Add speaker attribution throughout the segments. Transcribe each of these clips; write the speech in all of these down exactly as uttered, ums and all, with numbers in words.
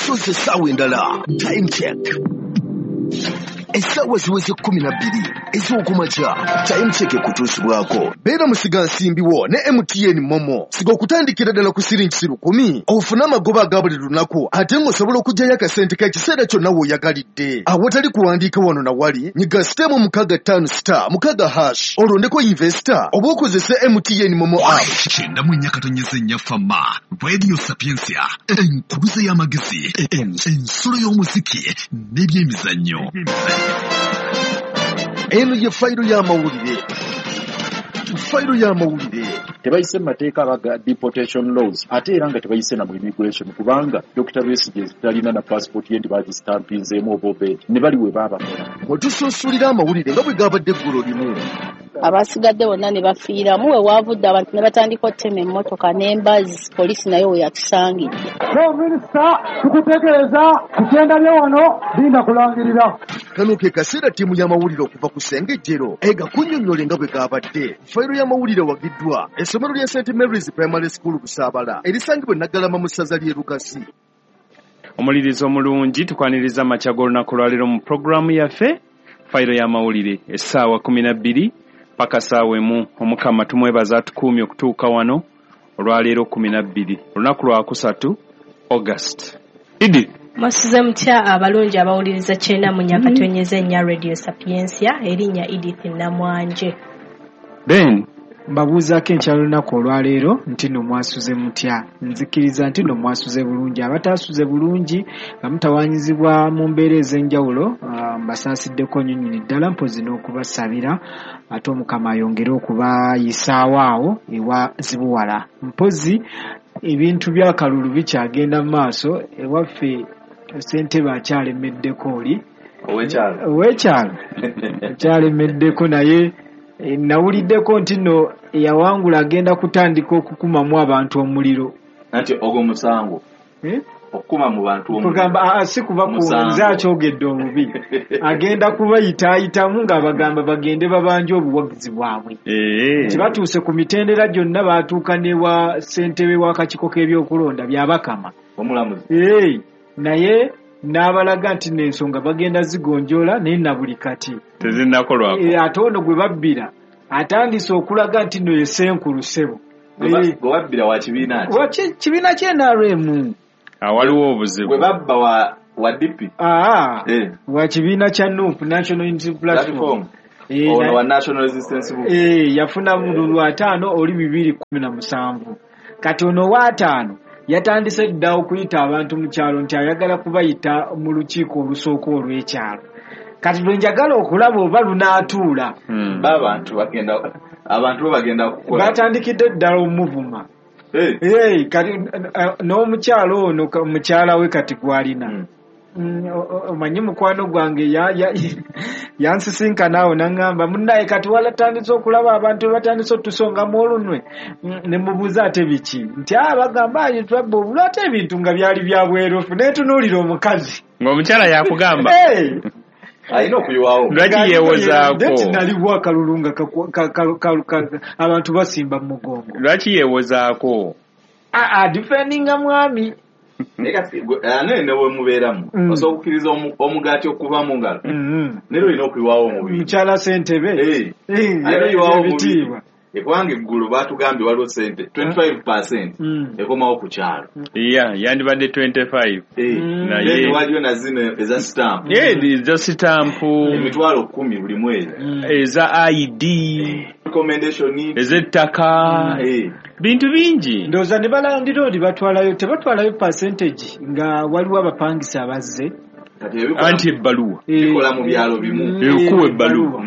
Speaker 1: Soze essaawa endala. Time check. Essaawa ziweze kkumi na bbiri ez'okumakya. Time check ekutuusibwako. Beera musigansimbi wo ne M T N Momo. Siga okutandikira ddala ku siringi lukumi ofune amagoba aga buli lunaku, ate ng'osobola okuggyayo akasente k'ekiseera kyonna w'oyagalidde. Awatali kuwandiika wano na wali, nyiga star mukaaga ttaano star mukaaga hash olondeko investor oba okozese M T N Momo app.
Speaker 2: Kyenda mu nnya katonyeze nnya Fama, Radio Sapientia, enkubuze y'amagezi, ensulo y'omuziki n'ebyemizannyo.
Speaker 1: Eno ye fayiro y'amawulire. Fayiro y'amawulire.
Speaker 3: Tebayise mu mateeka abaga deportation laws, ate era nga tebayise na mu immigration, kubanga Dokita Besigye talina na passport ye nti bagistampinzeemu oba obedi ne bali we baabakola.
Speaker 1: Wetusunsulira amawulire nga bwe gabadde eggulo limu.
Speaker 4: Abasigadde bonna ne bafiiramu, we waavudde abantu ne batandika ottema emmotoka n'embazi, poliisi nayo we yatusangidde.
Speaker 5: Minisita tukutegeeza ku kyenda bye wano linda kulangirira.
Speaker 1: Kano ke kaseera ttiimu y'amawulire okuva ku Ssengejjero egakunnyonnyole nga bwe gabadde. Fayiro y'amawulire wagiddwa essomero lya Saint Mary's Primary School Busaabala erisangibwa e Naggalama mu ssaza ly'e Lukasi.
Speaker 6: Omulirizo omulungi, tukwaniriza amakya g'olunaku lwaleero mu pulogulaamu yaffe fayiro y'amawulire essaawa kkumi na bbiri paka ssaawa emu. Omukama tumwebaza atukuumye okutuuka wano olwaleero kkumi na bbiri, olunaku lwakusatu August. Edith,
Speaker 7: mwasuze mutya abalungi abawuliriza kyenda mu nnya katonyeze nnya Radio Sapientia, erinnya Edith Namwanje.
Speaker 6: Ben,
Speaker 8: mbabuuzaako enkya lunaku olwaleero nti nno mwasuze mutya. Nzikiriza nti nno mwasuze bulungi. Abataasuze bulungi nga mutawaanyizibwa mu mbeera ez'enjawulo, mbasaasiddeko nnyo nnyini ddala, mpozzi n'okubasabira ate Omukama ayongere okubayisaawo awo ewa zibuwala. Mpozzi ebintu by'akalulu bikyagenda mu maaso, ewaffe ssentebe akyalemeddeko oli
Speaker 9: ow'ekyalo
Speaker 8: ow'ekyalo akyalemeddeko, naye nawuliddeko nti nno eyawangula agenda kutandika okukumamu abantu omuliro.
Speaker 9: Anti ogwo musango okukuma mu bantu omuliro,
Speaker 8: kugamba si kuba nze akyogedde obubi, agenda kubayitaayitamu ng'abagamba bagende babanje obuwagizi bwabwe. Nti batuuse ku mitendera gyonna, baatuuka ne wa ssentebe w'akakiiko k'ebyokulonda Byabakama
Speaker 9: omulamuzi,
Speaker 8: naye n'abalaga nti n'ensonga bagenda zigonjoola, naye na buli kati
Speaker 6: tezinnakolwako.
Speaker 8: Ate ono gwe babbira atandise okulaga nti nno ye ssenkulu ssebo.
Speaker 9: Gwe babbira wa kibiina ki?
Speaker 8: Wa kibiina kya N R M.
Speaker 6: Awaliwo obuzibu.
Speaker 9: Gwe babba wa wa D P?
Speaker 8: Aa, wa kibiina kya N U P, National Unity Platform.
Speaker 9: Ono wa National Resistance Movement.
Speaker 8: Eh, yafuna bululu ataano oli bibiri kkumi na musanvu. Kati ono wa ataano yatandise dda okuyita abantu mu kyalo nti ayagala kubayita mu lukiiko olusooka olw'ekyalo. Kati lwe njagala okulaba oba lunaatuula.
Speaker 9: Abantu bagenda abantu bagenda kukola.
Speaker 8: Batandikidde ddala omuvuma. Hey, kati n'omukyalo ono mukyala we kati gwalina. Omanyi mukwano gwange yansisinkana awo n'aŋŋamba munnaye kati walatandise okulaba abantu batandise otusongamu olunwe. Ne mubuuza ate biki, nti bagamba twabba obululu, ate ebintu nga byali bya bwerufu. Neetunuulira omukazi
Speaker 6: ng'omukyala yakugamba
Speaker 9: alina okuyiwawo.
Speaker 6: Lwaki yeewozaako?
Speaker 8: Nti naliwo akalulu nga abantu basimba mu mugongo.
Speaker 6: Lwaki yeewozaako?
Speaker 8: Adifendinga mwami.
Speaker 9: Naye ne bwe mubeeramu osobola okukkiriza omugaati okuva mu ngalo, naye olina okuyiwawo omubiri.
Speaker 8: Mukyala ssentebe
Speaker 9: alina oyiwawo omubiri, kubanga eggulo baatugambye waliwo ssente twenty-five percent ekomawo ku kyalo.
Speaker 6: Yeah, yandibadde twenty-five.
Speaker 9: Naye waliyo na zino eza stamp.
Speaker 6: Eza stamp
Speaker 9: emitwalo kkumi buli mwezi,
Speaker 6: eza I D,
Speaker 9: recommendation,
Speaker 6: ez'ettaka, bintu bingi.
Speaker 8: Ndowooza ne balandiroodi batwalayo, tebatwalayo percentage nga waliwo abapangisa abazze.
Speaker 6: Anti ebbaluwa
Speaker 9: bikola mu byalo bimu,
Speaker 6: ekuwa ebbaluwa.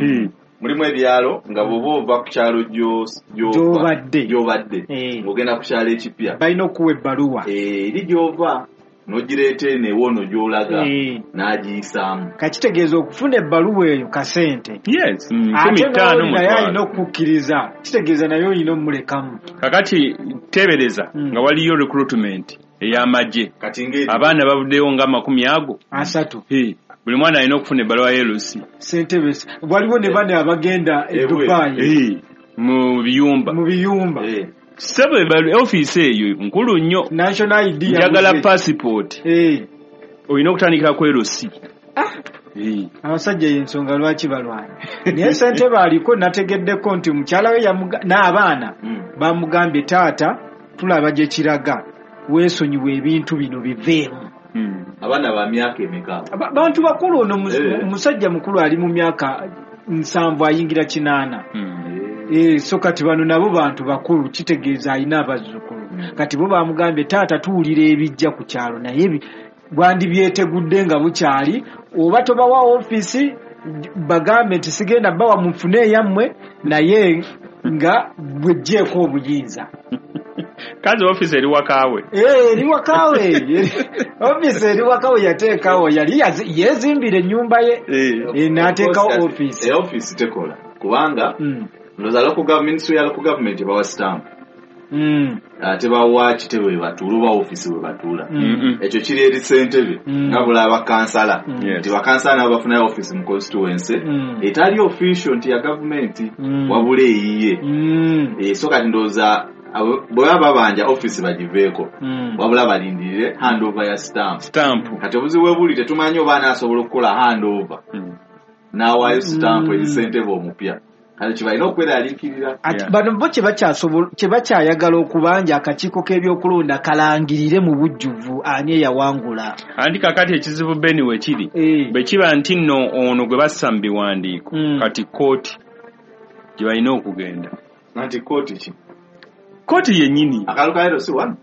Speaker 9: Mulimu ebyalo nga bw'oba ova ku kyalo gy'obadde gy'obadde ng'ogenda ku kyalo ekipya,
Speaker 8: balina okuwa ebbaluwa
Speaker 9: eri gy'ova n'ogireeta eno ewoono gy'olaga n'agiyisaamu.
Speaker 8: Kakitegeeza okufuna ebbaluwa eyo kasente.
Speaker 6: Yes,
Speaker 8: ate naye alina okukkiriza, kitegeeza naye olina omulekamu.
Speaker 6: Kakati teebereza nga waliyo recruitment ey'amagye, abaana bavuddeyo nga amakumi ago
Speaker 8: asatu.
Speaker 6: Buli mwana alina okufuna ebbaluwa ya L C.
Speaker 8: Ssentebe waliwo ne bane abagenda e Dubai
Speaker 6: mu biyumba
Speaker 8: mu biyumba.
Speaker 6: Ssebo ofiisi eyo nkulu nnyo.
Speaker 8: National I D
Speaker 6: njagala passport.
Speaker 8: Eh.
Speaker 6: Olina okutandikira ku L C.
Speaker 8: Abasajja y'ensonga lwaki balwana. Naye ssentebe aliko nategeddeko nti mukyala we n'abaana bamugambye taata tulaba gye kiraga weesonyiwe ebintu bino biveemu.
Speaker 9: Abaana ba myaka emeka?
Speaker 8: Bantu bakulu ono omusajja mukulu ali mu myaka nsanvu ayingira kinaana. So kati bano nabo bantu bakulu kitegeeza alina abazzukulu. Kati bo bamugambye taata tuwulira ebijja ku kyalo naye bwandibyetegudde nga bukyali oba tobawa ofiisi bagambe nti sigenda bawa mufune eyammwe naye nga bweggyeko obuyinza.
Speaker 6: Kazi ofiisi eri wakaawe.
Speaker 8: Eh, eri wakaawe. Ofiisi eri wakaawe yateekawo yali yeezimbira ennyumba ye n'ateekawo ofiisi.
Speaker 9: Ofiisi tekola kubanga ndowooza local government, ministry ya local government ebawa stamp. Tebawa kitebe we batuula oba ofiisi we batuula. Ekyo kiri eri ssentebe nga bulaba bakansala nti bakansala nabo bafunayo ofiisi mu constituency etali official nti ya gavumenti wabula eyiye. So kati ndowooza bwe baba babanja ofiisi bagiveeko wabula balindirire handover ya stamp. Kati obuzibu bwe buli tetumanyi oba anaasobola okukola handover n'awaayo stamp eri ssentebe omupya. Kale kibalina okweraliikirira.
Speaker 8: Bano bo kye bakyayagala okubanja akakiiko k'ebyokulonda kalangirire mu bujjuvu ani eyawangula.
Speaker 6: Anti kakati ekizibu Beni we kiri bwe kiba nti nno ono gwe bassa mu biwandiiko kati kkooti gye balina okugenda.
Speaker 9: Anti kkooti ki?
Speaker 6: Kkooti yennyini.
Speaker 9: Akalulu ka L C one?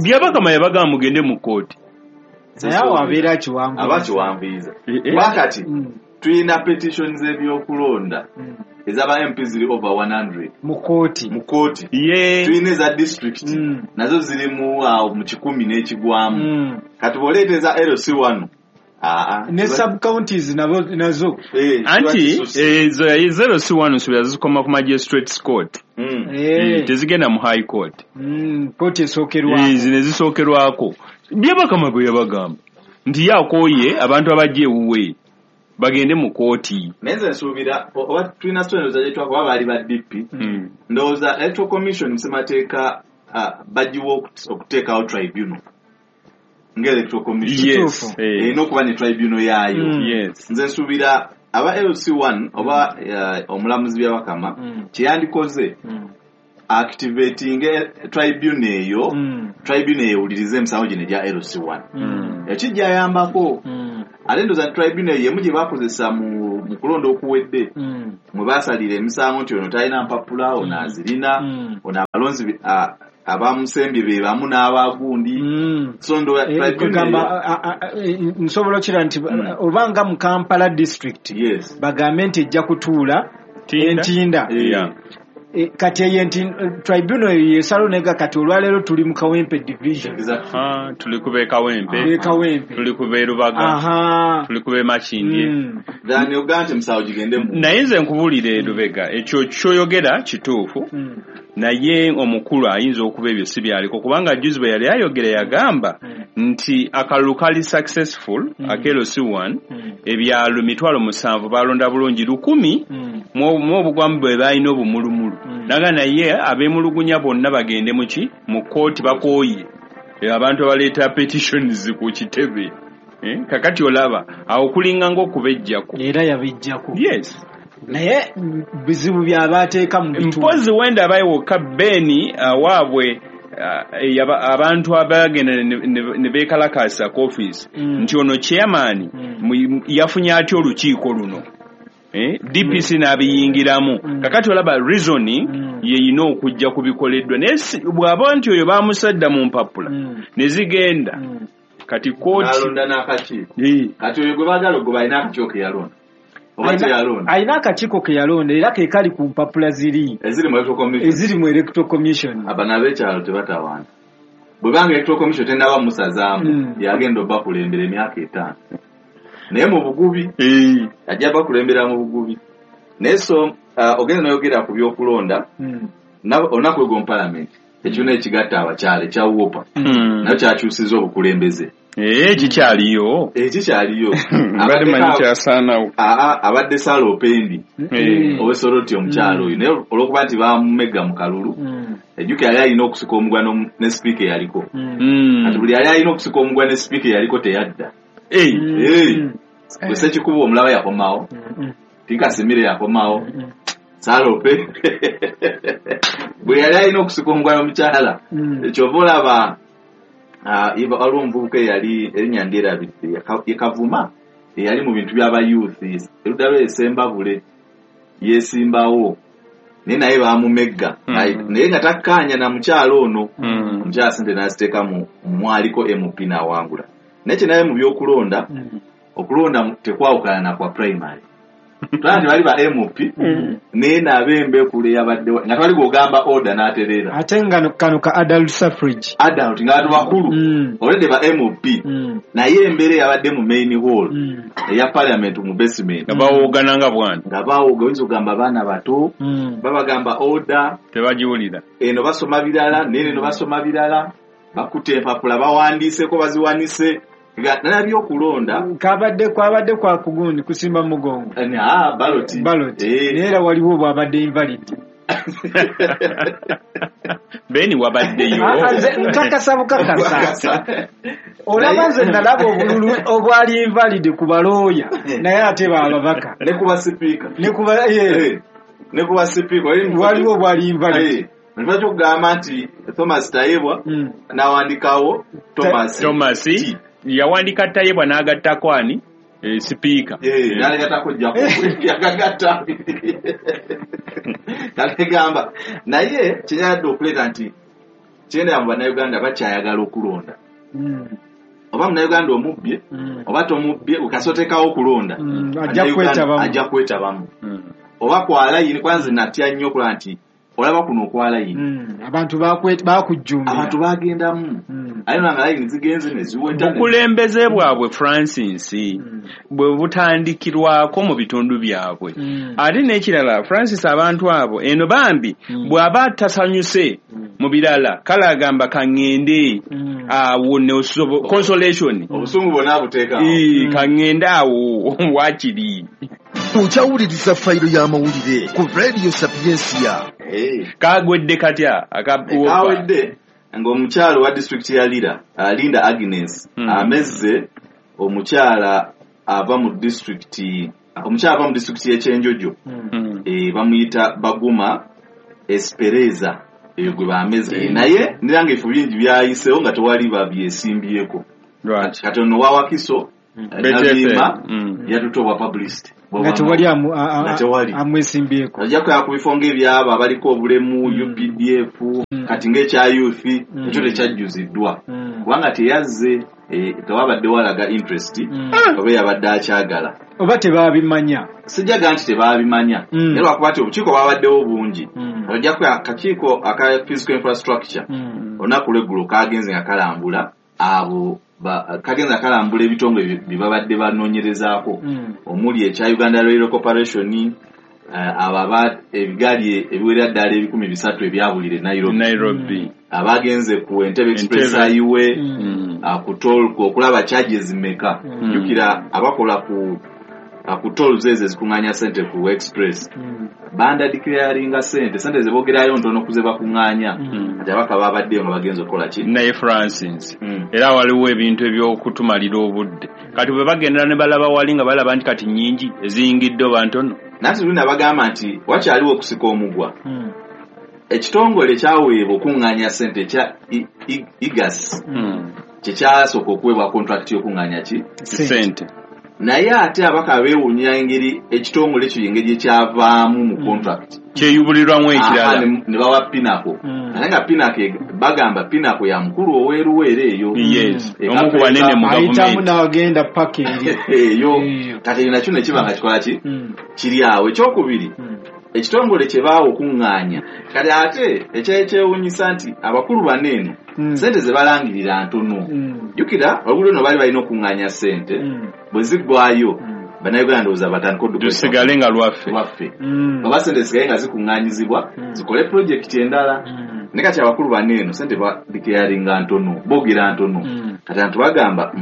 Speaker 6: Byabakama yabagamba mugende mu kkooti.
Speaker 8: Naye awo abeera akiwanvuyiza.
Speaker 9: Aba akiwanvuyiza. Wakati tulina petitions z'ebyokulonda ez'aba M P ziri over one hundred
Speaker 8: mu kkooti.
Speaker 9: Mu kkooti. Tulina eza district nazo ziri mu awo mu kikumi n'ekigwamu. Kati bw'oleeta eza L C one
Speaker 8: ne sub counties nazo.
Speaker 6: Anti ezo eza L C one nsuubira zikoma ku magistrates court. Tezigenda mu high court.
Speaker 8: Kkooti esookerwako.
Speaker 6: Zino ezisookerwako. Byabakama bwe yabagamba nti ye akooye abantu abajja ewuwe bagende mu kkooti.
Speaker 9: Naye nze nsuubira oba tulina story ndowooza gye twakuba baali ba D P. Ndowooza Electoral Commission mu ssemateeka bagiwa okuteekawo tribunal nga Electoral Commission erina okuba ne tribunal yaayo. Nze nsuubira aba L C one oba omulamuzi Byabakama kye yandikoze activating tribunal eyo, tribunal ewulirize emisango gino egya L C one. Ekijja ayambako. Ate ndowooza tribunal y'emu gye baakozesa mu kulonda okuwedde mwe baasalira emisango nti ono talina mpapula, ono azirina, ono abalonzi abamusembye be bamu n'abagundi. So ndowooza tribunal
Speaker 8: nsobola okira nti oba nga mu Kampala district bagambe nti ejja kutuula Entinda. Kati eyo nti tribunal eyo yesalo nega kati olwaleero tuli mu Kawempe division.
Speaker 6: Tuli ku b'e Kawempe, tuli ku b'e Lubaga, tuli ku b'e Makindye.
Speaker 9: Then ogamba nti musawo gigende mu.
Speaker 6: Naye nze nkubuulire Lubega ekyo ky'oyogera kituufu naye omukulu ayinza okuba ebyo si byaliko kubanga juzi bwe yali ayogera yagamba nti akalulu kali successful aka L C one ebyalo mitwalo musanvu balonda bulungi lukumi mu obugwamu bwe balina obumulumulu. Naga naye ab'emulugunya bonna bagende muki mu kkooti bakooye abantu abaleeta petitions ku kitebe. Kakati olaba awo kulinga ng'okubejjako.
Speaker 8: Era yabejjako.
Speaker 6: Yes.
Speaker 8: Naye bizibu by'abateeka mu bitundu.
Speaker 6: Mpozi wenda abayiwoka Beni waabwe abantu abagenda ne beekalakaasa ku ofiisi nti ono chairman yafunye atya olukiiko luno. D P C n'abiyingiramu. Kakati olaba reasoning yeyina okujja ku bikoleddwa naye bw'aba nti oyo baamusadda mu mpapula ne zigenda kati kkooti
Speaker 9: n'alonda n'akakiiko. Kati oyo gwe baagala ogwo balina akakiiko ke yalonda.
Speaker 8: Alina akakiiko ke yalonda era ke kali ku mpapula ziri eziri mu Electoral Commission.
Speaker 9: Abano ab'ekyalo tebatawaana. Bwe banga Electoral Commission tennaba musazaamu yagenda obbakulembera emyaka etaano. Naye mu bugubi ajja bakulembera mu bugubi. Naye so ogenda n'oyogera ku by'okulonda olunaku lw'egwo mu Parliament ekibiina ekigatta abakyala ekya WOPA nakyo kyakyusizza obukulembeze.
Speaker 6: Eh, kikyaliyo.
Speaker 9: Eh, kikyaliyo.
Speaker 6: Mbadde manyi kyasaanawo.
Speaker 9: Aa, abadde Sara Opendi. Owesoroti omukyala oyo. Naye olw'okuba nti baamumegga mu kalulu, Ejjuka yali alina okusika omugwa ne sipiika eyaliko.
Speaker 6: Mm.
Speaker 9: Kati buli yali alina okusika omugwa ne sipiika eyaliko teyadda.
Speaker 6: Hey.
Speaker 9: Hey. Gwe Ssekikubo omulaba yakomawo. Tinkasimire yakomawo. Salope. Bwe yali alina okusika omugwa n'omukyala. Kyova olaba waliwo omuvubuka eyali erinnya ndyerabidde ye Kavuma eyali mu bintu by'aba youth erudda lwe Sembabule yeesimbawo naye naye baamumegga naye nga takkaanya na mukyala ono. Omukyala ssente n'aziteeka mu mwaliko M P n'awangula. Naye kye naye mu by'okulonda okulonda tekwawukana na kwa primary. Tulaba nti bali ba M P naye n'ab'embekule yabadde nga tewali gw'ogamba order n'atereera.
Speaker 8: Ate nga kano ka adult suffrage.
Speaker 9: Adult nga bantu bakulu already ba M P naye embeera eyabadde mu main hall eya parliament mu basement.
Speaker 6: Nga bawoogana nga bwana.
Speaker 9: Nga bawooga oyinza okugamba abaana bato babagamba order
Speaker 6: tebagiwulira.
Speaker 9: Eno basoma birala naye eno basoma birala bakutte empapula bawandiiseko baziwanise. Nalabye okulonda
Speaker 8: kabadde kwabadde kwa kugundi kusimba mugongo.
Speaker 9: Ah, ballot.
Speaker 8: Ballot. Naye era waliwo bwabadde invalid.
Speaker 6: Beni wabaddeyo.
Speaker 8: Nkakasa bukakasa. Olaba nze nalaba obululu obwali invalid ku balooya naye ate bababaka.
Speaker 9: Ne kuba sipiika.
Speaker 8: Ne kuba eh.
Speaker 9: Ne kuba sipiika.
Speaker 8: Waliwo obwali invalid.
Speaker 9: Nibajja okugamba nti Thomas Tayebwa n'awandikawo Thomas.
Speaker 6: Thomas. Yawandika Tayebwa n'agattako ani e, sipiika.
Speaker 9: Eh, n'agattako Jacob. Yagagatta. Kale naye kyenjadde okuleeta nti kyenda mu Bannayuganda bakyayagala okulonda.
Speaker 8: Mm.
Speaker 9: Oba Munnayuganda omubbye
Speaker 8: mm.
Speaker 9: oba tomubbye okasoteekawo okulonda.
Speaker 8: Mm. Ajja kwetabamu.
Speaker 9: Ajja kwetabamu.
Speaker 6: Mm.
Speaker 9: Oba kwa layini kwanza natya nnyo okulaba nti olaba kuno okwa layini.
Speaker 8: Mm. Abantu bakujjumbira.
Speaker 9: Abantu bagendamu.
Speaker 8: Mm.
Speaker 9: Aye nga layini zigenze ne ziweta.
Speaker 6: Bukulembeze bwabwe Francis
Speaker 8: mm.
Speaker 6: bwe butandikirwako mu bitundu byabwe.
Speaker 8: Mm.
Speaker 6: Ate n'ekirala Francis abantu abo eno bambi
Speaker 8: mm.
Speaker 6: bw'aba tasanyuse
Speaker 8: mm.
Speaker 6: mu birala kale agamba kaŋŋende
Speaker 8: mm.
Speaker 6: awo ne consolation.
Speaker 9: Obusungu bwonna buteekawo.
Speaker 6: Ee kaŋŋende awo waakiri.
Speaker 1: Okyawuliriza fayiro y'amawulire ku Radio Sapientia.
Speaker 9: Hey.
Speaker 6: Kagwedde katya
Speaker 9: akawedde ng'omukyala wa disitulikiti ya Lira Linda Agnes
Speaker 6: mm.
Speaker 9: amezze omukyala ava mu disitulikiti omukyala ava mu disitulikiti y'Ekyenjojo
Speaker 6: mm.
Speaker 9: e, bamuyita Baguma Espereza eyo gwe bameze mm. e, naye niranga ebifu bingi byayiseewo nga tewali babyesimbyeko.
Speaker 6: Right.
Speaker 9: Kati ono wa Wakiso
Speaker 6: mm.
Speaker 9: Nabima
Speaker 6: mm.
Speaker 9: yatutte obwa publicity
Speaker 8: nga tewali amwesimbyeko.
Speaker 9: Ajja kuya ku bifo ng'ebyabo abaliko obulemu
Speaker 8: mm.
Speaker 9: U P D F
Speaker 8: mm.
Speaker 9: kati ng'ekya youth
Speaker 8: mm.
Speaker 9: ekyo tekyajjuziddwa
Speaker 8: mm.
Speaker 9: kubanga teyazze eh, tewabadde walaga interest
Speaker 8: mm.
Speaker 9: oba yabadde akyagala
Speaker 8: oba tebaabimanya.
Speaker 9: Sijjaga nti tebaabimanya
Speaker 8: mm.
Speaker 9: naye lwakuba nti obukiiko bwabaddewo bungi.
Speaker 8: mm.
Speaker 9: Ojja kuya akakiiko aka physical infrastructure
Speaker 8: mm.
Speaker 9: olunaku lw'eggulo kagenze nga kalambula abo kagenza kalambula ebitongole bye babadde banoonyerezaako
Speaker 8: mm.
Speaker 9: omuli ekya Uganda Rail Corporation uh, abo ebigaali ebiwerera ddala ebikumi bisatu ebyabulira e Nairobi,
Speaker 6: Nairobi.
Speaker 9: Mm. Abagenze ku Entebbe Express Highway
Speaker 8: mm.
Speaker 9: uh, ku toll okulaba charges meka.
Speaker 8: Mm.
Speaker 9: Jjukira abakola ku uh, ku tolls ezo ezikuŋŋaanya ssente ku express
Speaker 8: mm.
Speaker 9: banda declaringa ssente ssente ze boogerayo ntono ku ze bakuŋŋaanya.
Speaker 8: Mm.
Speaker 9: Kati abaka babaddeyo nga bagenze okukola ki
Speaker 6: naye Francis
Speaker 9: mm.
Speaker 6: era waliwo ebintu eby'okutumalira obudde kati bwe bagenda ne balaba wali nga balaba nti kati nnyingi eziyingidde oba ntono.
Speaker 9: Nanti luli nabagamba nti wakyaliwo okusika omugwa.
Speaker 8: Mm.
Speaker 9: Ekitongole kyaweebwa okuŋŋaanya ssente ekya I G A S
Speaker 6: mm.
Speaker 9: kye kyasooka okuweebwa contract y'okuŋŋaanya ki
Speaker 6: ssente
Speaker 9: naye ate abaka beewuunya engeri ekitongole ekyo engeri ekyavaamu mu contract
Speaker 6: kyeyubulirwamu ekirala
Speaker 9: ne bawa Pinnacle. Ate nga Pinnacle bagamba Pinnacle ya mukulu ow'eruweero eyo.
Speaker 6: Yes. Omu ku banene mu gavumenti
Speaker 8: ayitamu n'agenda paka eri
Speaker 9: eyo. Kati nakyo ne kiba nga kikola ki kiri awo. Ekyokubiri ekitongole kye baawa okuŋŋaanya kati ate ekyekyewuunyisa nti abakulu bano eno ssente ze balangirira ntono. Jjukira oluguudo luno baali balina okuŋŋaanya ssente bwe ziggwayo Bannayuganda ndowooza batandika odduka
Speaker 6: lusigale nga lwaffe
Speaker 9: lwaffe oba ssente zisigale nga zikuŋŋaanyizibwa zikole pulojekiti endala. Naye kati abakulu bano eno ssente badeclaringa ntono boogera ntono. Kati abantu bagamba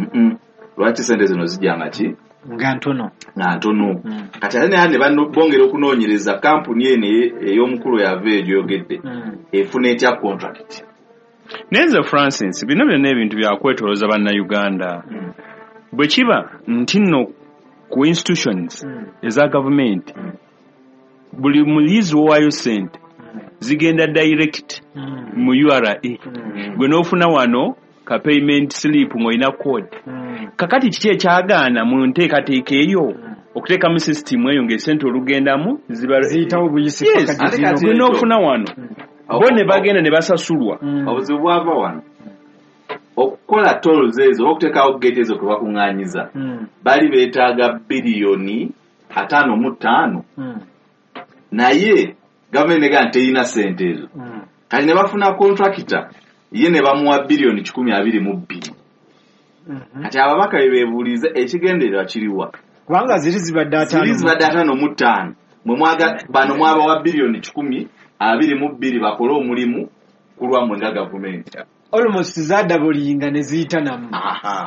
Speaker 9: lwaki ssente zino zijja nga ki
Speaker 8: Nga ntono.
Speaker 9: Nga ntono. Mm. Kati ate naye ne bongera okunoonyereza kampuni eno ey'omukulu yava egyogedde mm. efuna etya contract.
Speaker 6: Nenze Francis, bino byonna ebintu byakwetolooza bannayuganda. Mm. Bwe kiba nti nno ku institutions mm. eza gavumenti mm. buli muyizi w'owaayo ssente mm. zigenda direct mm. mu U R A. Mm. Gwe n'ofuna wano ka payment slip ng'olina code. Mm. Kakati kiki ekyagaana mu nteekateeka eyo mm. okuteekamu system eyo ng'essente olugendamu
Speaker 8: ziyitawo buyisi
Speaker 6: paka gye n'ofuna wano. Mm. Bo ne bagenda ne basasulwa.
Speaker 9: Mm. Obuzibu bwava wano. Okukola tolls ezo, okuteekawo gate ezo kwe bakuŋŋaanyiza. Mm. Bali beetaaga biliyoni ataano mu ttaano. Mm. Naye gavumenti negamba terina ssente ezo. Mm. Kati ne bafuna contractor ye ne bamuwa biliyoni kikumi abiri mu bbiri. Mm-hmm. Kati ababaka be beebuuliza ekigendererwa kiriwa.
Speaker 8: Kubanga ziri zibadde ataano.
Speaker 9: Ziri zibadde ataano mu ttaano. Mwe mwaga bano mwabawa biliyoni kikumi abiri mu bbiri bakole omulimu ku lwammwe nga gavumenti.
Speaker 8: Almost zadabulinga ne ziyita namu.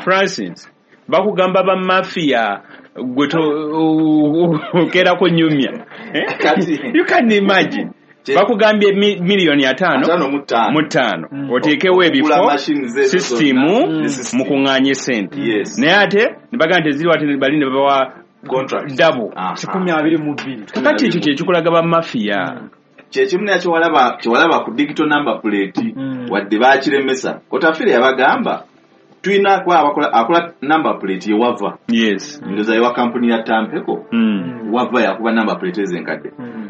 Speaker 6: Francis, bakugamba ba mafia gwe okeerako nyumya. You can imagine. Bakugambye miliyoni ataano mu ttaano oteekewo ebifo sisitimu mukuŋŋaanye ssente. Naye ate ne bagamba nti eziriwo ate bali ne babawa double
Speaker 8: kikumi abiri mu bbiri.
Speaker 6: Kakati ekyo kye kikulaga ba mafia.
Speaker 9: Kyekimu naye kyewalaba kyewalaba ku digital number plate
Speaker 8: mm.
Speaker 9: wadde baakiremesa. Otafire yabagamba tulina kuba abakola akola number plate ye wava.
Speaker 6: Yes.
Speaker 9: Ndowooza yewa kampuni ya Tampeko.
Speaker 6: Mm.
Speaker 9: Wava yakuba number plate ezenkadde.
Speaker 8: Mm.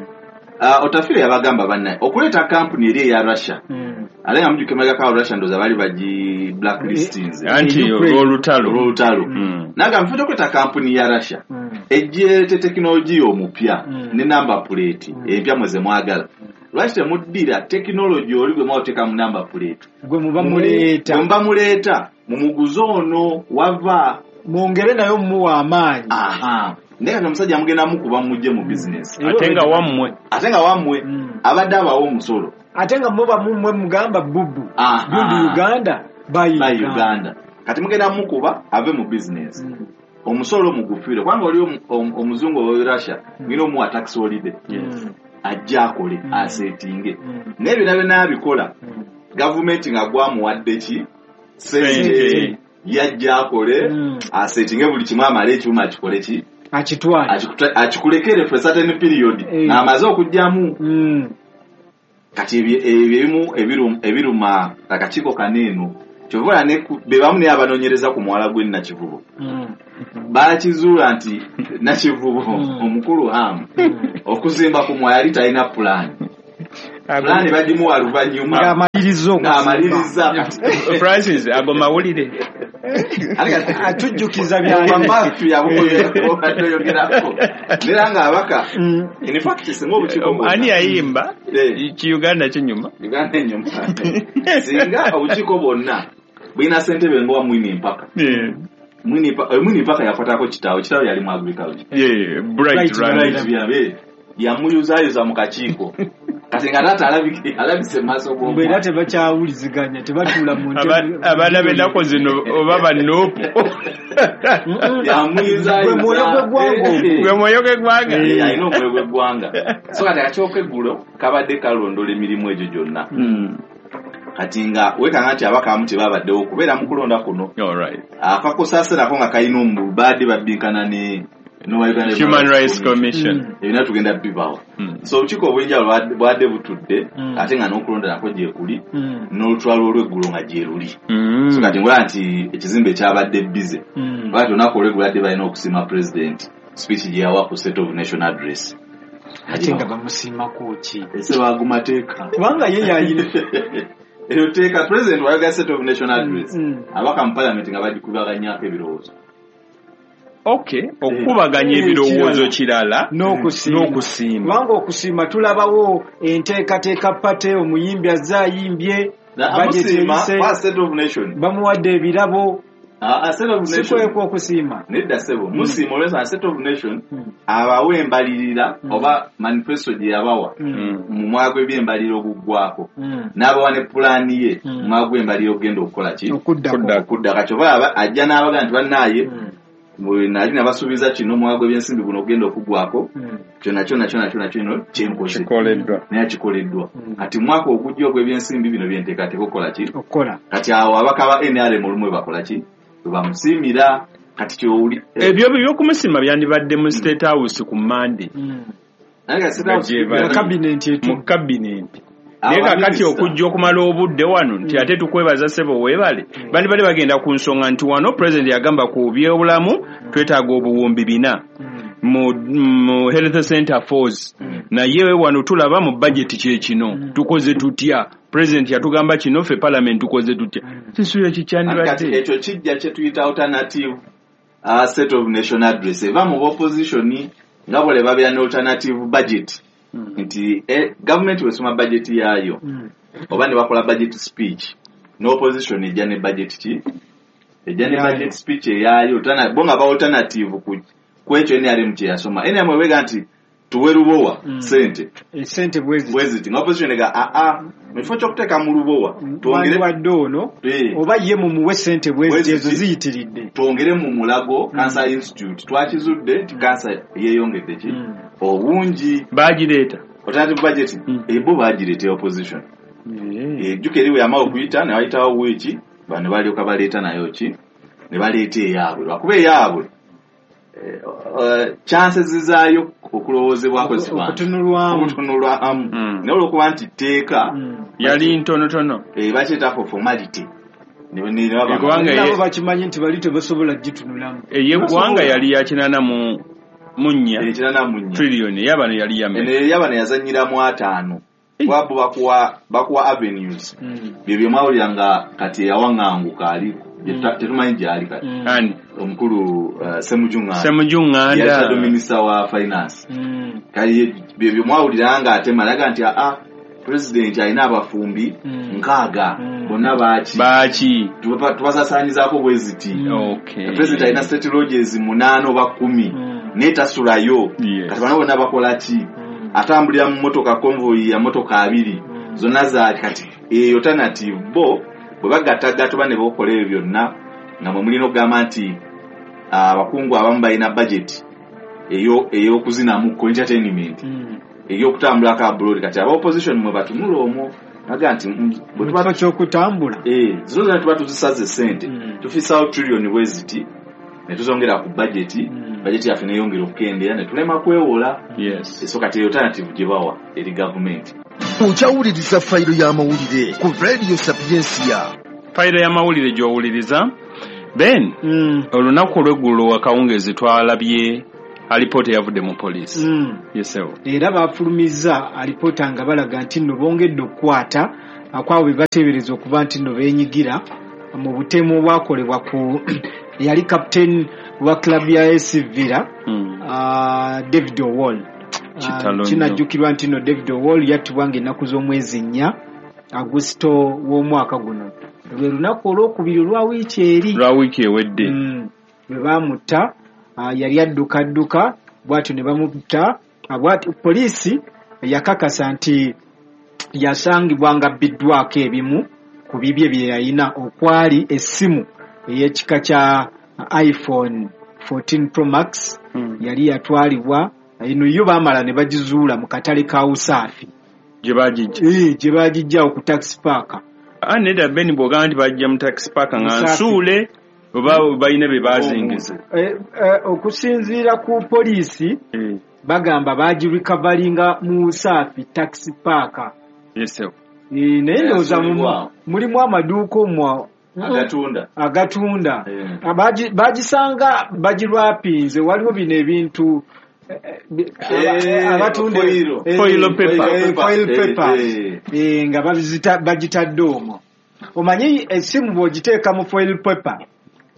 Speaker 9: Uh, Otafire yabagamba bannaye okuleeta kampuni eri eya Russia.
Speaker 8: Mm.
Speaker 9: Ate nga mujjuke emabega ka Russia ndowooza baali bagi blacklistinze.
Speaker 6: Anti olw'olutalo.
Speaker 9: Olw'olutalo.
Speaker 6: Mm.
Speaker 9: N'agamba nfe okuleeta kampuni ya Russia.
Speaker 8: Mm.
Speaker 9: Ejje tekinologiya omupya
Speaker 8: mm.
Speaker 9: ne number plate
Speaker 8: mm.
Speaker 9: empya mwe ze mwagala. Lwaki temuddira tekinologi oli gwe mwateeka mu number plate?
Speaker 8: Gwe muba muleeta.
Speaker 9: Gwe muba muleeta mumuguze ono wava.
Speaker 8: Mwongere nayo mumuwa amaanyi.
Speaker 9: Aha. Naye kati omusajja mugenda mukuba mujje mu business.
Speaker 6: Ate nga wammwe.
Speaker 9: Ate nga wammwe
Speaker 8: mm.
Speaker 9: abadde abawa omusolo.
Speaker 8: Ate nga muba mumwe mugamba bubu. Build Uganda, buy
Speaker 9: Uganda.
Speaker 8: Uganda.
Speaker 9: Kati mugenda mukuba ave mu business.
Speaker 8: Mm.
Speaker 9: Omusolo mugufiire kubanga oli omuzungu owa Russia ngina omuwa tax holiday.
Speaker 6: Yes.
Speaker 9: Ajja akole
Speaker 8: mm.
Speaker 9: asetinge.
Speaker 8: Mm.
Speaker 9: Naye byonna byonna abikola
Speaker 8: mm.
Speaker 9: gavumenti nga gwamuwadde ki sente yajja akole
Speaker 8: mm.
Speaker 9: asetinge buli kimu amale ekyuma akikole ki
Speaker 8: akitwale
Speaker 9: akikulekere for a certain period
Speaker 8: eh.
Speaker 9: ng'amaze okugyamu
Speaker 8: mm.
Speaker 9: Kati ebyo ebimu ebiruma akakiiko kano eno kyova ne be bamu naye abanoonyereza ku muwala gwe Nakivubo.
Speaker 8: Mm.
Speaker 9: Baakizuula nti Nakivubo
Speaker 8: mm.
Speaker 9: omukulu Hamu
Speaker 8: mm.
Speaker 9: okuzimba ku mwala yali talina pulaani. Pulaani bagimuwa luvannyuma
Speaker 8: ng'amaliriza
Speaker 9: ng'amaliriza.
Speaker 6: Francis ago mawulire
Speaker 8: atujjukiza byamafia
Speaker 9: bwoyogerako nera nga abaka in fact singa obukiiko
Speaker 6: ani yayimba ki Uganda kinyuma
Speaker 9: Uganda enyuma singa obukiiko bwonna bulina ssentebe ng'owa Mwini Mpaka. Mwini Mwini Mpaka yakwatako kitaawe, kitaawe yali mu agriculture.
Speaker 6: Yeah, bright
Speaker 9: right. Yamuyuzayuza mu kakiiko. Kati nga taata alabike alabise maaso g'omwana.
Speaker 8: Era tebakyawuliziganya tebatuula mu ntebe.
Speaker 6: Abaana b'ennaku zino oba banoopu.
Speaker 9: Yamuyuzayuza.
Speaker 8: Gwe mwoyo gw'eggwanga.
Speaker 6: Gwe mwoyo gw'eggwanga.
Speaker 9: Alina omwoyo gw'eggwanga. So kati akakiiko k'eggulo kabadde kalondola emirimu egyo gyonna. Kati nga weekanga nti abaka abamu tebabaddewo okubeera mu kulonda kuno. Akakosaase nako nga kalina omubaadde babbinkana ne
Speaker 6: Human Rights Commission.
Speaker 9: Ebina tugenda bibawo. So obukiiko obw'enjawulo bwadde butudde ate nga n'okulonda nako gye kuli n'olutwalo olw'eggulo nga gye luli. So kati ngolaba nti ekizimbe kyabadde bize. Lwaki olunaku olw'eggulo badde balina okusiima President speech gye yawa ku State of Nation Address.
Speaker 8: Ate nga bamusiimako ki?
Speaker 9: Ese bagumateeka.
Speaker 8: Kubanga ye yayina.
Speaker 9: Eryo tteeka President wa Uganda State of Nation Address abaka mu Parliament nga bagikubaganyako ebirowoozo.
Speaker 6: Okay, okukubaganya ebirowoozo kirala n'okusiima.
Speaker 8: Kubanga okusiima tulabawo enteekateeka pate omuyimbi azze ayimbye bamuwadde ebirabo. Sikwekwa okusiima.
Speaker 9: Nedda ssebo, musiima olw'ensonga State of Nation abawa embalirira oba manifesto gye yabawa mu mwaka gw'ebyembalirira oguggwako n'abawa ne pulaani ye mu mwaka gw'embalirira ogugenda okukola ki? Okuddako. Kati oba ajja n'abaga nti bannaaye Nali nabasuubiza kino omwaka gw'ebyensimbi guno ogenda okugwako kyonna kyonna kyonna kyonna kino kyenkoze naye kikoleddwa. Kati mwaka ogujja ogw'ebyensimbi bino byenteekateeka okukola ki? Kati awo ababaka ba N R M olumu bakola ki? Bwe bamusiimira. Kati ky'owuli
Speaker 6: ebyo by'okumusiima byandibadde mu State House ku Monday. Mu cabinet. Naye kakati okujja okumala obudde wano nti ate tukwebaza ssebo weebale. Bandi bali bagenda ku nsonga nti wano president yagamba ku byobulamu twetaaga obuwumbi bina mu, mu health center force. Naye wano tulaba mu budget kye kino tukoze tutya. President yatugamba kino ffe parliament tukoze tutya. Sisuyo kikyandibadde
Speaker 9: ekyo kijja kye tuyita alternative uh, set of national address eva mu opposition nga bole babeera ne alternative budget. Mm. Nti eh, government wesoma budget yaayo mm. oba ne bakola budget speech no opposition ejja ne budget ki ejja ne budget speech eyaayo bo nga ba alternative ku kwekyo N R M kye yasoma. N R M wega nti tuwe Lubowa mm. sente
Speaker 8: sente bwezi
Speaker 9: bwezi nga opposition ega a a mu kifo ky'okuteeka mu Lubowa
Speaker 8: twongere wadde ono oba ye mumuwe sente bwezi ezo ziyitiridde
Speaker 9: twongere mu Mulago Cancer Institute twakizudde nti cancer yeeyongedde ki mm. obungi
Speaker 6: bagireeta
Speaker 9: alternative budget mm. ebo bagireeta opposition ejjuka eriwe yamala okuyita ne bayitawo wiiki bano balyoka baleeta nayo ki ne baleeta eyaabwe lwakuba eyaabwe chances zaayo okulowoozebwako
Speaker 8: okutunulwamu
Speaker 9: okutunulwamu naye olwokuba nti tteeka
Speaker 6: yali ntonotono
Speaker 9: bakyeta for formality
Speaker 8: nabo bakimanyi nti bali tebasobola gitunulamu.
Speaker 6: Ey'eggwanga yali ya kinaana mu munnya trillion ey'abano yali ya mmeka?
Speaker 9: Ey'abano yazannyiramu ataano kuba bo bakuwa bakuwa avenues bye bye mwawulira nga kati eyawaŋŋanguka ali tetumanyi gy'ali kati
Speaker 6: ani
Speaker 9: omukulu Ssemujju Nganda
Speaker 6: Ssemujju Nganda
Speaker 9: yali shadow minister wa finance. Kali bye bye mwawulira nga ate malaga nti aa president alina abafumbi nkaaga bonna baaki
Speaker 6: baaki
Speaker 9: tubasasaanyizaako bwe ziti. President alina state lodges munaana oba kkumi naye tasulayo. Kati bano bonna bakola ki? Atambulira mu mmotoka convoy ya mmotoka abiri zonna zaaki. Kati eyo alternative bo bwe bagattagatta oba ne bakola ebyo byonna nga mwe mulina okugamba nti abakungu abamu balina budget ey'okuzinamu ku entertainment ey'okutambulako abroad. Kati aba opposition mwe batunula omwo baga nti
Speaker 8: bwe tuba ky'okutambula
Speaker 9: eh zino zonna tuba tuzisaze ssente tufisaawo trillion bwe ziti ne tuzongera ku budget budget yaffe neyongera okukendeera ne tulema kwewola.
Speaker 6: Yes.
Speaker 9: So kati alternative gye bawa eri gavumenti.
Speaker 1: Okyawuliriza fayiro y'amawulire ku Radio Sapiensia.
Speaker 6: Fayiro y'amawulire gy'owuliriza Ben mm. olunaku olw'eggulo akawungeezi twalabye alipoota eyavudde mu poliisi.
Speaker 8: Mm.
Speaker 6: Yesewo.
Speaker 8: Era bafulumizza alipoota nga balaga nti nno bongedde okukwata akwabo be bateebereza okuba nti nno beenyigira mu butemu obwakolebwa ku yali captain wa club ya A C Villa
Speaker 6: mm.
Speaker 8: uh, David Owol. Uh, kinajjukirwa nti nno David Owol yattibwa ng'ennaku z'omwezi nnya Agusto w'omwaka guno lwe lunaku olwokubiri olwa wiiki eri
Speaker 6: lwa wiiki ewedde
Speaker 8: mm. lwe baamutta. Uh, yali adduka adduka bw'atyo ne bamutta. Bw'atyo poliisi yakakasa nti yasangibwa nga abbiddwako ebimu ku bibye bye yalina okwali essimu ey'ekika kya iPhone fourteen Pro Max
Speaker 6: mm.
Speaker 8: yali yatwalibwa eno yo baamala ne bagizuula mu katale ka Usaafi
Speaker 6: gye bagijja
Speaker 8: eh gye bagijja ku taxi park.
Speaker 6: Ah nedda Ben bw'ogamba nti bajja mu taxi park nga nsuule oba balina be bazingiza.
Speaker 8: Eh, eh, okusinziira ku poliisi
Speaker 6: eh.
Speaker 8: bagamba bagirecoveringa mu Usaafi taxi park.
Speaker 6: Yes.
Speaker 8: Eh, naye ndowooza mulimu amaduuka omwo
Speaker 9: agatunda
Speaker 8: agatunda
Speaker 9: yeah.
Speaker 8: Bagisanga bagirwapinze waliwo bino ebintu abatunda
Speaker 6: foil paper
Speaker 8: foil paper nga bagitadde omwo. Omanyi essimu bw'ogiteeka mu foil paper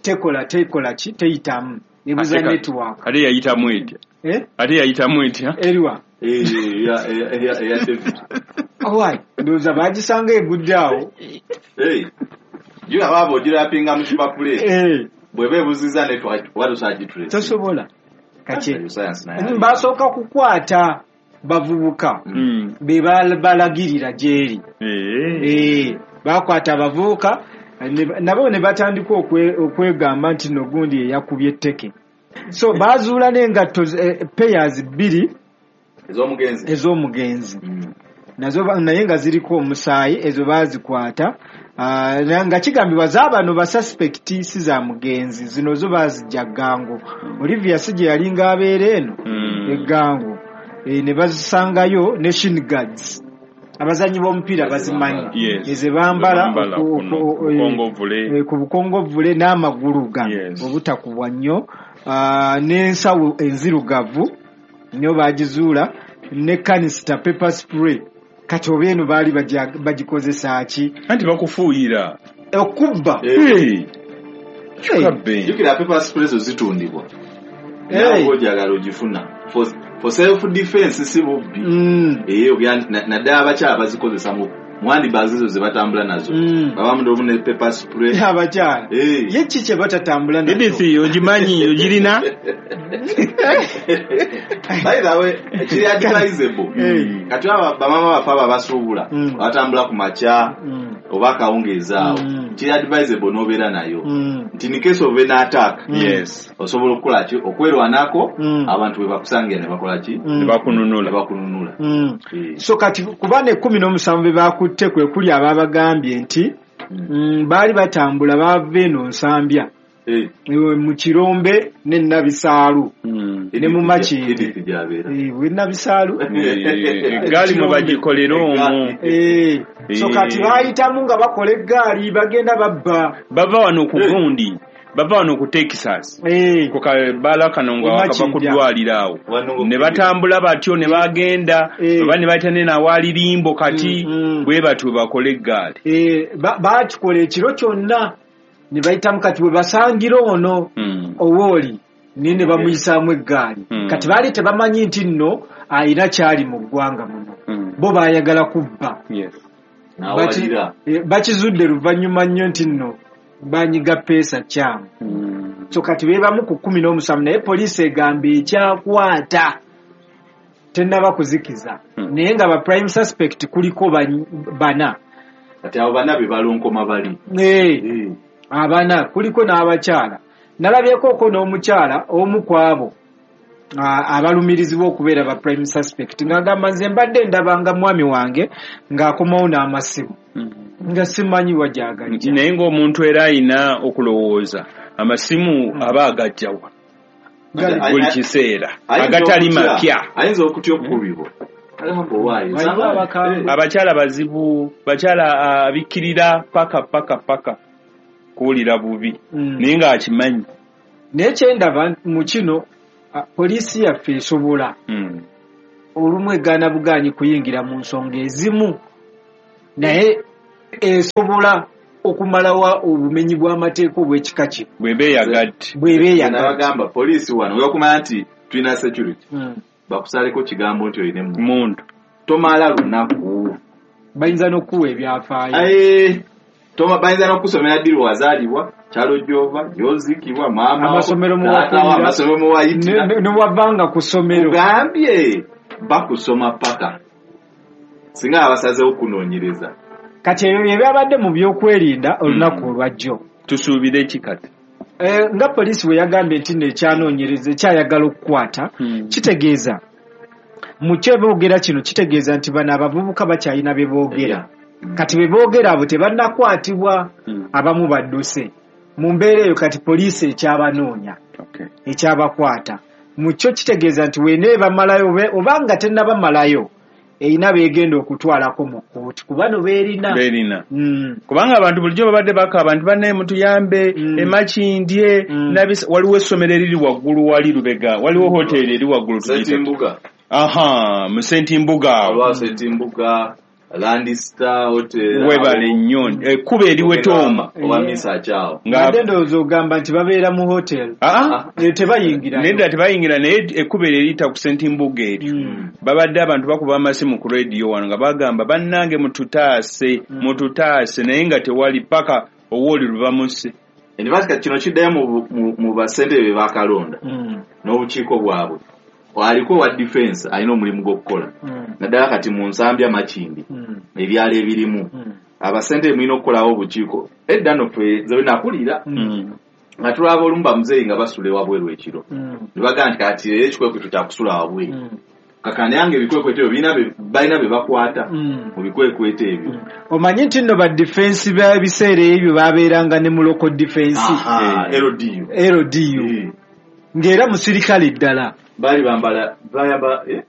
Speaker 8: tekola tekola ki teyitamu ebuza network.
Speaker 6: Ate yayitamu etya? Ate yayitamu etya
Speaker 8: eriwa owai ndowooza bagisanga egudde awo.
Speaker 9: Aba ogirapinga mu kipapula bw'eba ebuziza network oba tosobola
Speaker 8: tosobola. Kati basooka kukwata bavubuka be balagirira gy'eri. Bakwata abavubuka nabo ne batandika okwegamba nti no gundi eyakubye etteke. So bazuula n'engatto eh, pairs bbiri
Speaker 9: ez'omugenzi
Speaker 8: ez'omugenzi mm. Nazo naye nga ziriko omusaayi, ezo baazikwata. Uh, nga kigambibwa z'abano ba suspect si za mugenzi, zino zo baazijja Ggango. Olivia si gye yalinga abeera eno mm. Eggango e, ne bazisangayo ne shin guards. Abazannyi b'omupiira bazimanyi
Speaker 6: yes.
Speaker 8: Eze bambala ku bukongovule n'amagulu ga yes. Obutakubwa nnyo uh, n'ensawo enzirugavu nnyo bagizuula ne canister pepper spray. Kati oba eno baali bagikozesa ki?
Speaker 6: Anti bakufuuyira
Speaker 8: okubba.
Speaker 6: Hey.
Speaker 9: Hey. Jjukira pepper spray zo zitundibwa nawe ojagala ogifuna for, for self defense si bubbi
Speaker 8: mm.
Speaker 9: Eyo naddala abakyala bazikozesa mu mwandi bazizo ze batambula nazo
Speaker 8: mm.
Speaker 9: Babamu ndomu ne pepper spray
Speaker 8: abakyala
Speaker 9: hey.
Speaker 8: Ye ki kye batatambula nazo?
Speaker 6: Edith ogimanyi ogirina?
Speaker 9: By the way, kiri advisable
Speaker 8: hey.
Speaker 9: Kati aba bamama bafe abo abasuubula
Speaker 8: mm.
Speaker 9: batambula ku makya
Speaker 8: mm.
Speaker 9: oba akawungeezi awo
Speaker 8: mm.
Speaker 9: Kiri advisable n'obeera nayo
Speaker 8: mm.
Speaker 9: nti in case of an attack
Speaker 8: mm.
Speaker 6: Yes.
Speaker 9: Osobola okukola ki? Okwerwanako
Speaker 8: mm.
Speaker 9: abantu bwe bakusangira ne bakola ki?
Speaker 8: Mm.
Speaker 6: Ne bakununula.
Speaker 9: Ne bakununula.
Speaker 8: Mm.
Speaker 9: Eh.
Speaker 8: So kati kuba ne kkumi n'omusanvu be bakutte kwe kuli ababagambye nti
Speaker 9: Mm.
Speaker 8: mm, baali batambula bava eno Nsambya
Speaker 9: Eh.
Speaker 8: mu Kirombe ne Nabisaalu
Speaker 6: mm.
Speaker 8: ne mu Makindye
Speaker 9: Edith gy'abeera.
Speaker 8: Eh, we Nabisaalu
Speaker 6: Eggaali mwe bagikolera omwo.
Speaker 8: Eh, so kati bayitamu nga bakola eggaali bagenda babba.
Speaker 6: Bava wano ku gundi, bava wano ku Texas
Speaker 8: Eh,
Speaker 6: ku kabaala kano nga wakava ku ddwaliro awo
Speaker 9: Wano
Speaker 6: ne batambula batyo ne bagenda
Speaker 8: Eh.
Speaker 6: oba ne bayita ne nawaali limbo kati
Speaker 8: Mm, mm.
Speaker 6: bwe batyo bakola eggaali.
Speaker 8: Eh, ba- bakikola ekiro kyonna ne bayitamu kati bwe basangira ono
Speaker 6: Mm.
Speaker 8: owooli naye ne bamuyisaamu eggaali.
Speaker 6: Mm.
Speaker 8: Kati baali tebamanyi nti nno ayina kyali mu ggwanga muno.
Speaker 6: Mm.
Speaker 8: Bo baayagala kubba.
Speaker 6: Yes.
Speaker 9: N'awalira.
Speaker 8: Baki- eh, bakizudde luvannyuma nnyo nti nno banyiga peesa kyamu.
Speaker 6: Mm.
Speaker 8: So kati beebamu ku kkumi n'omusanvu naye poliisi egamba ekyakwata tennaba kuzikiza.
Speaker 6: Mm.
Speaker 8: Naye nga ba prime suspect kuliko ban- bana.
Speaker 9: Kati abo bana be balonkoma bali.
Speaker 8: Eh,
Speaker 9: Eh.
Speaker 8: abana kuliko n'abakyala. Nalabyekoko n'omukyala omu ku abo abalumirizibwa okubeera ba prime suspect ng'agamba nze mbadde ndabanga mwami wange ng'akomawo n'amasimu nga simanyi wa gy'agajja.
Speaker 6: Naye ng'omuntu era ayina okulowooza amasimu aba agajjawa buli kiseera agatali mapya.
Speaker 9: Ayinza okutya okukubibwa.
Speaker 6: Abakyala bazibu, bakyala abikkirira paka paka paka kuwulira bubi naye ng'akimanyi.
Speaker 8: Naye kyendaba mu kino poliisi yaffe esobola olumu egaana bugaanyi kuyingira mu nsonga ezimu naye esobola okumalawo obumenyi bw'amateeka obw'ekika kino
Speaker 6: bw'eba eyagadde.
Speaker 8: Bw'eba eyagadde.
Speaker 9: Nabagamba poliisi wano webakumanya nti tulina security bakusaleko kigambo nti olina
Speaker 6: emmundu
Speaker 9: tomala lunaku
Speaker 8: bayinza n'okuwa ebyafaayo.
Speaker 9: Bayinza n'okusomera ddi lwazaalibwa, kyalo gy'ova, gy'oziikibwa, maama
Speaker 8: amasomero
Speaker 9: amasomero muwayitira
Speaker 8: ne wavanga ku ssomero.
Speaker 9: Kugambye bakusoma paka singa abasazeewo okunoonyereza.
Speaker 8: Kati ebyo bye byabadde mu byokwerinda olunaku olwajjo.
Speaker 6: Tusuubire ki kati?
Speaker 8: Nga poliisi bwe yagambye nti nno ekyanoonyereza ekyayagala okukwata kitegeeza mu kyo boogera kino kitegeeza nti bano abavubuka bakyalina bye boogera. Kati bye boogera abo tebannakwatibwa, abamu badduse. Mu mbeera eyo kati poliisi ekyabanoonya ekyabakwata. Mu kyo kitegeeza nti weneebamalayo oba nga tennabamalayo erina beegenda okutwalako mu kkooti kuba no beerina.
Speaker 6: Beerina. Kubanga abantu bulijjo babadde bakaaba nti bannaye mutuyambe emakindye waliwo essomero eriri waggulu wali Lubega, waliwo hoteeri eri waggulu
Speaker 9: Ssentimbuga.
Speaker 6: Aha, mu Ssentimbuga awo.
Speaker 9: Waliwo Ssentimbuga, Landista Hotel.
Speaker 6: Webale nnyo. Ekkubo eriwetooma.
Speaker 9: Oba Misa Akyawo.
Speaker 8: Mbadde ndowooza ogamba nti babeera mu hotel. Tebayingira.
Speaker 6: Nedda tebayingira naye ekkubo eryo eriyita ku Ssentimbuga eryo. Babadde abantu bakuba amasimu ku rediyo wano nga bagamba bannange mututaase, mututaase naye nga tewali paka owooli lubamuse.
Speaker 9: Enibasika kino kiddayo mu bassentebe be bakalonda n'obukiiko bwabwe. Aliko wa defense alina omulimu gw'okukola naddala kati mu Nsambya Makindi ebyalo ebirimu abasentebe mulina okukolawo obukiiko. Edda nno ffe nze bwe nakulira Nga tulaba olumu bamuzeeyi nga basula ewabweru ekiro. Ne bagamba nti kati leero ekikwekweto kya kusula wabweru. Kakandi yange ebikwekweto ebyo birina be balina be bakwata mu bikwekweto ebyo.
Speaker 8: Omanyi nti nno ba defense b'ebiseera ebyo babeeranga ne mu local defense.
Speaker 9: L D U.
Speaker 8: L D U. Ng'era musirikale ddala.
Speaker 9: Baali bambala bayamba eh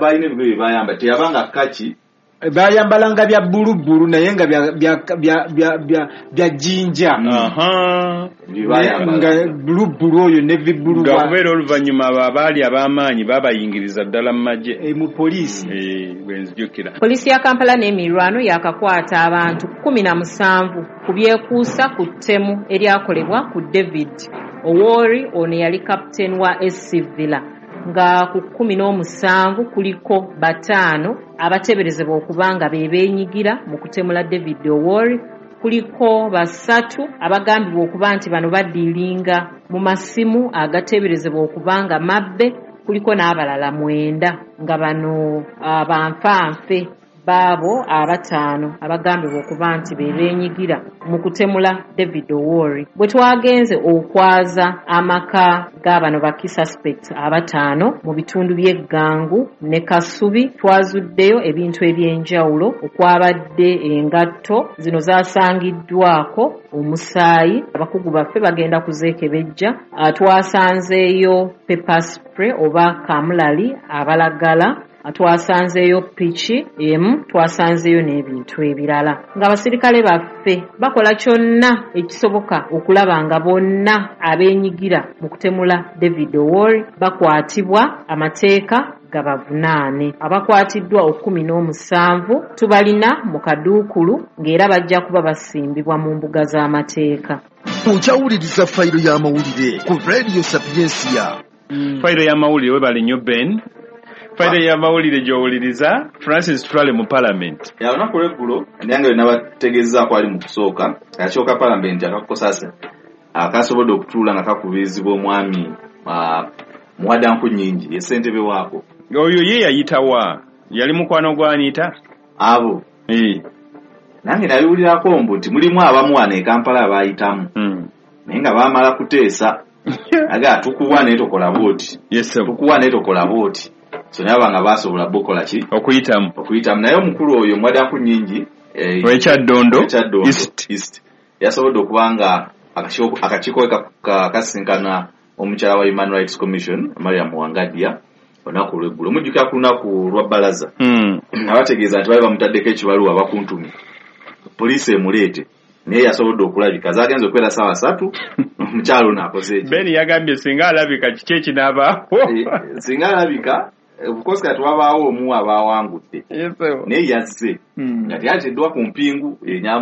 Speaker 9: balina ebigoye bayamba teyabanga kaki.
Speaker 8: Bayambalanga bya bbulu bbulu naye nga bya bya bya bya bya bya jinja.
Speaker 6: Aha.
Speaker 8: Nga bbulu bbulu oyo ne vibbulu.
Speaker 6: Nga okubeera oluvannyuma abo abaali ab'amaanyi baabayingiriza ddala mu magye.
Speaker 8: E, mu poliisi.
Speaker 6: Eh, bwe nzijukira.
Speaker 10: Poliisi ya Kampala n'emiriraano yaakakwata abantu kkumi na musanvu ku byekuusa ku ttemu eryakolebwa ku David Owori, ono yali captain wa S C Villa. Nga ku kkumi n'omusanvu kuliko bataano abateeberezebwa okuba nga be beenyigira mu kutemula David Owori, kuliko basatu abagambibwa okuba nti bano badiiringa mu masimu agateeberezebwa okuba nga mabbe, kuliko n'abalala mwenda nga bano abanfanfe baabo abataano abagambibwa okuba nti be beenyigira mu kutemula David Owori. Bwe twagenze okwaza amaka g'abano ba key suspects abataano mu bitundu by'Eggangu ne Kasubi, twazuddeyo ebintu eby'enjawulo okwabadde engatto zino zasangiddwako omusaayi, abakugu baffe bagenda kuzeekebejja. Twasanzeeyo pepper spray oba kamulali abalagala, twasanzeeyo piki emu, twasanzeeyo n'ebintu ebirala. Ng'abasirikale baffe bakola kyonna ekisoboka okulaba nga bonna abeenyigira mu kutemula David Owori bakwatibwa, amateeka gabavunaane. Abakwatiddwa ekkumi n'omusanvu tubalina mu kaduukulu ng'era bajja kuba basimbibwa mu mbuga z'amateeka.
Speaker 1: Okyawuliriza fayiro y'amawulire ku Radio Sapiensia.
Speaker 6: Fayiro y'amawulire, webale nnyo Ben. Fayiro y'amawulire gy'owuliriza Francis Tutwale mu Parliament.
Speaker 9: Ya olunaku lw'eggulo nange bwe nabategeezaako ali mu kusooka, akakiiko ka Parliament akakozesa akasobodde okutuula nga kakubirizibwa omwami Muwada Nkunnyingi ye ssentebe waako.
Speaker 6: Oyo ye yayitawa? Yali mukwano gwa Anita?
Speaker 9: Abo.
Speaker 6: Eh.
Speaker 9: Nange nabiwulirako mbu nti mulimu abamu wano e Kampala abaayitamu. Naye nga baamala kuteesa. Aga tukuwa naye tokola bw'oti.
Speaker 6: Yes sir.
Speaker 9: Tukuwa naye tokola bw'oti. So naye abanga basobola bokola ki?
Speaker 6: Okuyitamu.
Speaker 9: Okuyitamu. Naye omukulu oyo Muwada Nkunnyingi eh,
Speaker 6: W'Ekyaddondo
Speaker 9: East. East. Yasobodde okuba nga akakiiko kasisinkana omukyala wa Human Rights Commission Mariam Wangadia olunaku olw'eggulo. Mujjukira ku lunaku lwa bbalaza.
Speaker 6: Mm.
Speaker 9: Abategeeza nti baali bamutaddeko ekibaluwa bakuntumye. Poliisi emuleete. Naye yasobodde okulabika. Zaagenze okubeera ssaawa ssatu omukyala ono akoze eki.
Speaker 6: Ben yagambye singa alabika kiki ekinaabaawo.
Speaker 9: Singa alabika of kati wabaawo omu abaawangudde.
Speaker 6: Yes,
Speaker 9: naye yazze. Nga teyateeddwa ku mpingu enyamu